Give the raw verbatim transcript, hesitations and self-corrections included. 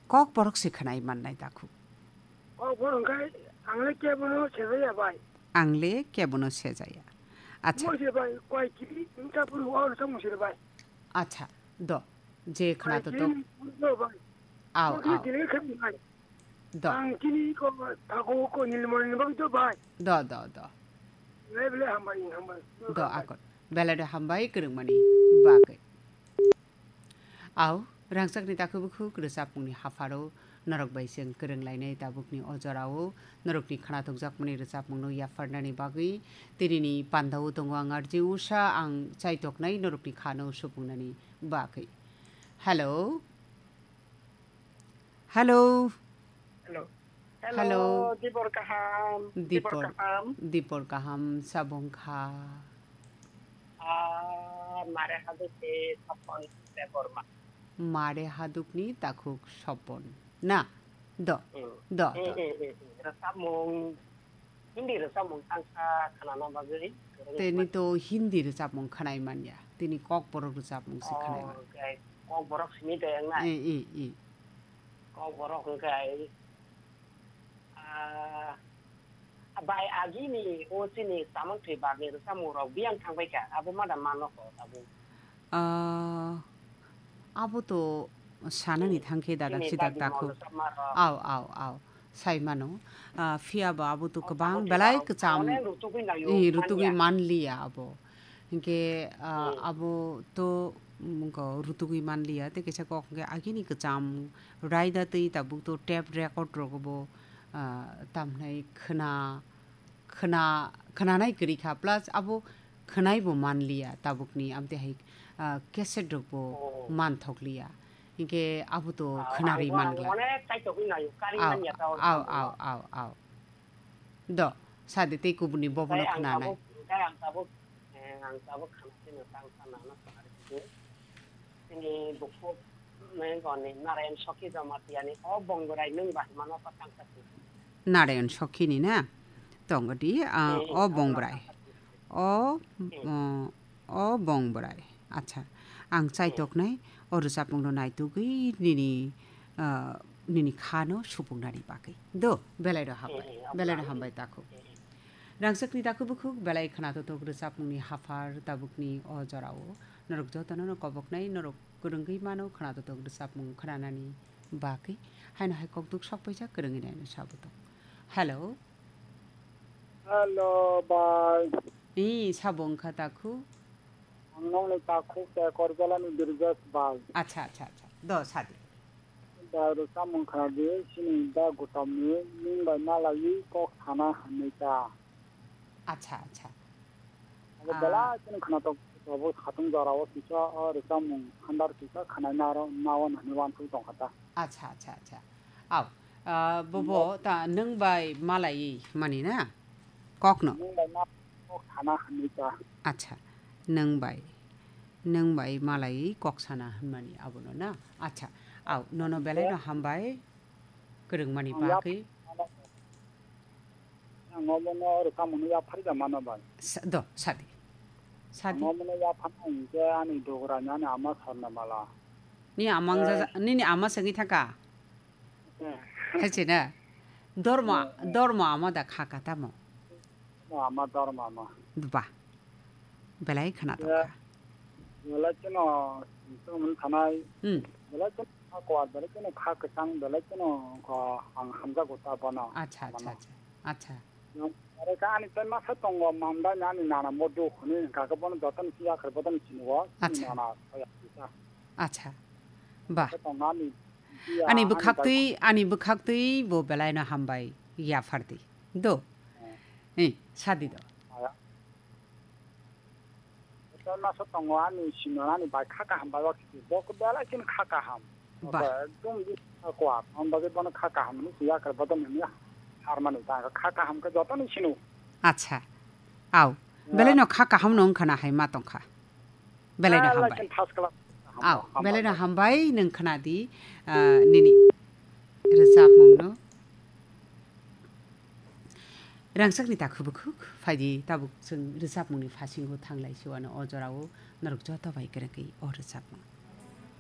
Kokborok se khwnai mannai takhuk. Kokborok hwnkhe ang le kebono sejaya bai. Ang le kebono sejaya. Acha. Mo se bai, koi kiri, wngkha phuru o rwchapmung se bai. Acha, do. Je khwnato to. Kiri, do bai. Aw, aw. Dile khe bai. Do. Ang chini ko, tako ko Nilmani ni bagwi do bai. Do, do, do. Bele bele hambai, hambai. Do, akon. Bele do hambai, kwrwngmani bagwi. Aw, rangchakni takhuk bukhuk rwchapmungni hapharo norok bai chwng kwrwng lainai tabukni o jorao norokni khwnathokjakmani rwchapmungno yapharnani bagwi tinini pandao tongo ang R J Usha, ang chaitoknai norokni khano supungnani bagwi. Hello? Hello? Hello. Hello. Hello, Dibor kaham. Dibor, Dibor kaham. Dibor kaham, sabong kha. Ah, mare haduk ni Sopon Debbarma. Mare haduk ni takhuk Sopon. Na? Do. Hmm. Do, hmm, do. Hmm, hmm, hmm, hmm. Rwchapmung Hindi rwchapmung tangsa khwnana bagwi kwrwngwi mano. Tini to Hindi rwchapmung khwnai manya. Tini Kokborok rwchapmung se khwnai manya. Oh, okay. Kokborok simi de wng nai? Eh, eh, eh. Kokborok hwnkhe, ah, bai agini o chini chamung thwi barni rwchapmung rok biyang thangbai kha. Abo ma da mano kho tabuk. Ah, abo to sanani thangkhe dada sidak takhuk. Aw, aw, aw. Sai mano. Ah, phiya bo abo to kwbang belai kwcham. Ih, rutugwi manliya abo. Hinkhe, ah, abo to, mm, go rutugwi manliya. Tei kaisa kok hinkhe agini kwcham raida twi tabuk to tape record rogo bo, ah, tamhinai khwna khwna, khwnanai kwrwi kha, plus abo khwnai bo manliya tabukni, amtwi hai, ah, cassette rok bo manthokliya. Hinkhe abo to khwnarwi mangla. Aw, aw, aw, aw. Do, sadi tei kubuni bobono khwnanai. Tini bukhuk nengoni Narayan Sokhi Jamatia ni o Bongrai nung bahimano patang kati. Narayan Sokhi ni na? Tongo di, ah, o Bongrai. O, o, o Bongrai. Acha, ang chaitoknai, o rwchapmung no naitugwi nini, ah, nini kha no supungnani bagwi. Do, belai rw hambai. Belai rw hambai takhuk. Rangchakni takhuk bukhuk belai khwnathok rwchapmungni haphar tabukni o jorao. Norok jotono no koboknai, norok kwrwngwi mano khwnathok rwchapmung khwnanani bagwi. Haino hai kokduk sok paijak kwrwngwi naino sabuto. Hello. Hello, bai. Ee, sabo wngkha takhuk? Ang nokni takhuk Tekorjalani Birjesh bai. Acha, acha, acha. Do, sadi. Bai rwchapmung khwnadi, chini da Gautamni nwng bai malaiwi kok sana hwnwi ta. Acha, acha. Abo belai kheno khwnathok, abo khatung jorao kisa o rwchapmung handar kisa khwnaina aro nawan hwnwi uansuk tongkha ta. Acha, acha, acha. Aw, ah, bobo ta nwng bai malaiwi mani na? Kokno? Nwng bai ma kok sana hwnwi ta. Acha, nwng bai. Nwng bai malaiwi kok sana hwnmani abono na? Acha, aw, nono belai no hambai. Kwrwngmani bagwi. Ang omono rwchapmungno yapharwi da mano bai. Sa-, do, sadi. Sadi. Ang omono yapharna hinkhe ani dograni ani ama Swarnamala. Ni amang jaja-, nini ama se wngwi thangkha? Eh. Hai se na? Dormo, eh, eh. Dormo ama da kha ka tamo? Ama Dormo ama. Ba. Belai khwnathok kha. Belai kheno tongmani thanai. Hmm. Belai kheno kha kwar, belai kheno kha kwchang, belai kheno kha ang hamjago ta bono. Acha, acha, acha. Acha. Are ka ani tai masa tongo, mamda ni ani nana modu hwnwi hwnkha khe bono jotono si yakhar bodono sini o, chini nana soya kisa. Acha. Ba. Ani bwkhaktwi, ani bwkhaktwi bo belai no hambai yaphardi. Do. Eh. Eh, sadi do. Aya. Hotel masa tongo ani sino ani bai kha kaham bai wakisi. Bo ko belai kin kha kaham. Ba. Ekdom di kha kwar. Ang bagwi bono kha kaham ni siya kar bodon ni har mani ta kha kaham khe joto ni sino. Acha. Aw. Ya. Belai no kha kaham no wngkha na hai ma tongkha. Belai no hambai. Aw, belai no hambai nwng khwnadi, ah, nini rwchapmung no. Rangchakni takhuk bukhuk phaidi tabuk chwng rwchapmungni phasingo thanglai siwano o jorao norok joto bai kwrwngwi o rwchapmung.